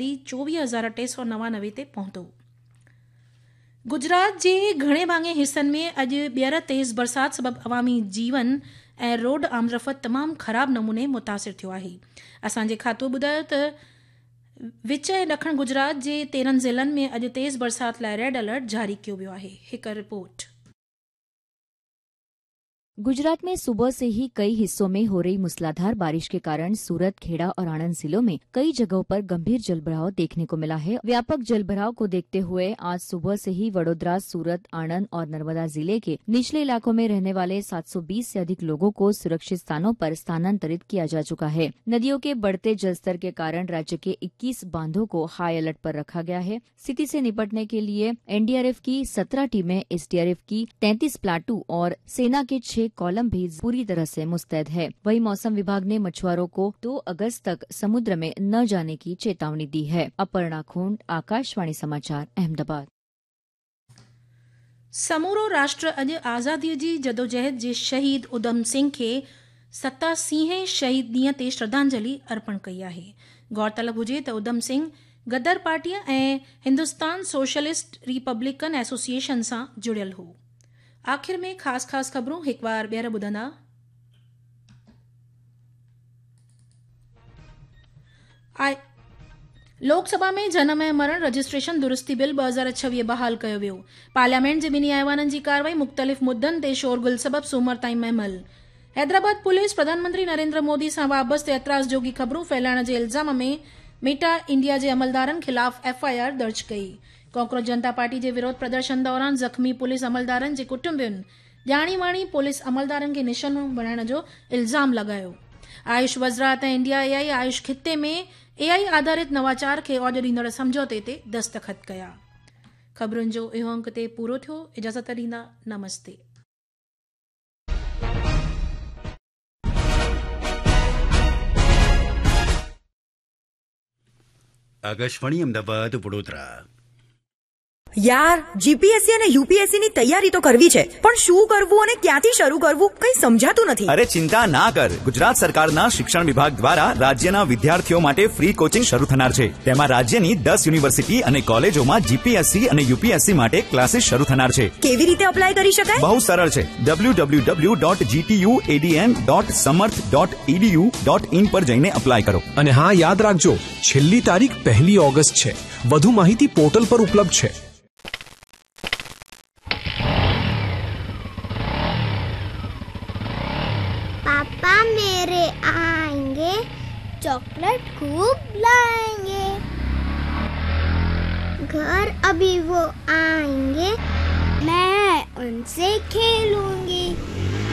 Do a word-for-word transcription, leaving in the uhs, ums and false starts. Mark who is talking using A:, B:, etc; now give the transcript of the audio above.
A: چوويهه هزار ٽي سؤ نوانوي تي پهتو. گجرات جي گهڻي ڀاڱي حصن ۾ اڄ ٻيهر تيز برسات سبب عوامي جيون ۽ روڊ آمدرفت تمام خراب نموني متاثر ٿيو آهي. اسان جي کاتو ٻڌايو ته وچ ۽ ڏکڻ گجرات جي تيرهن ضلعن ۾ اڄ تيز برسات لاءِ ريڊ الرٽ جاري ڪيو ويو آهي. هڪ رپورٽ.
B: गुजरात में सुबह से ही कई हिस्सों में हो रही मूसलाधार बारिश के कारण सूरत, खेड़ा और आणंद जिलों में कई जगहों पर गंभीर जलभराव देखने को मिला है। व्यापक जलभराव को देखते हुए आज सुबह से ही वडोदरा, सूरत, आणंद और नर्मदा जिले के निचले इलाकों में रहने वाले सात सौ बीस से अधिक लोगों को सुरक्षित स्थानों पर स्थानांतरित किया जा चुका है। नदियों के बढ़ते जलस्तर के कारण राज्य के इक्कीस बांधों को हाई अलर्ट पर रखा गया है। स्थिति से निपटने के लिए एनडीआरएफ की सत्रह टीमें, एसडीआरएफ की तैंतीस प्लाटू और सेना के छह कॉलम भी पूरी तरह से मुस्तैद है। वहीं मौसम विभाग ने मछुआरों को दो अगस्त तक समुद्र में न जाने की चेतावनी दी है। अपर्णा खोंड, आकाशवाणी समाचार, अहमदाबाद।
A: समूरो राष्ट्र अॼु आज़ादीअ जी जदोजहद जे शहीद उधम सिंह खे सतासीहें शहीद ॾींहं ते श्रद्धांजलि अर्पण कई आहे। गौरतलब हुजे त उधम सिंह गदर पार्टीअ ऐं हिंदुस्तान सोशलिस्ट रिपब्लिकन एसोसिएशन सां जुड़ियल हो। आख़िर में ख़ासि ख़ासि ख़बरूं हिकु बार ॿीहर ॿुधंदा। लोकसभा में जनम ऐं मरण रजिस्ट्रेशन दुरुस्ती बिल ॿ हज़ार छवीह बहाल कयो वियो। पार्लियामेंट जे ॿिन्ही ऐवाननि जी कार्रवाई मुख़्तलिफ़ मुद्दनि ते शोरगुल सबबि सूमर ताईं महमल। हैदराबाद पुलिस प्रधानमंत्री नरेंद्र मोदी सां वाबस्ते एतराज़ जोगी ख़बरूं फैलाइण जे इल्ज़ाम में मेटा इंडिया जे अमलदारनि ख़िलाफ़ एफ I R दर्ज कई। कॉकरोच जनता पार्टी जे विरोध प्रदर्शन दौरान ज़ख़्मी पुलिस अमलदारनि जे कुटुंबियुनि ॼाणी वाणी पुलिस अमलदारनि खे निशानो बणाइण जो इल्ज़ाम लॻायो। आयुष वज़ारत ऐं इंडिया ए आई आयुष ख़िते में ए आई आधारित नवाचार खे औज ॾींदड़ सम्झौते ते दस्तख़त कया। ख़बरुनि जो इहो अंक ते पूरो थियो। इजाज़त ॾींदा, नमस्ते।
C: આકાશવાણી અમદાવાદ વડોદરા।
D: યાર, જીપીએસસી અને યુપીએસસી ની તૈયારી તો કરવી છે, પણ શું કરવું અને ક્યાંથી શરૂ કરવું કંઈ સમજાતું નથી।
E: અરે ચિંતા ના કર, ગુજરાત સરકારના શિક્ષણ વિભાગ દ્વારા રાજ્યના વિદ્યાર્થીઓ માટે ફ્રી કોચિંગ શરૂ થનાર છે। તેમાં રાજ્યની દસ યુનિવર્સિટી અને કોલેજોમાં જીપીએસસી અને યુપીએસસી માટે ક્લાસીસ શરૂ થનાર છે।
D: કેવી રીતે અપ્લાય કરી શકાય?
E: બહુ સરળ છે। W W W dot GTU ADN dot Samarth dot EDU dot in પર જઈને અપ્લાય કરો।
F: અને હા, યાદ રાખજો, છેલ્લી તારીખ પહેલી ઓગસ્ટ છે। વધુ માહિતી પોર્ટલ પર ઉપલબ્ધ છે।
G: पापा मेरे आएंगे, चॉकलेट खूब लाएंगे। घर अभी वो आएंगे, मैं उनसे खेलूंगी।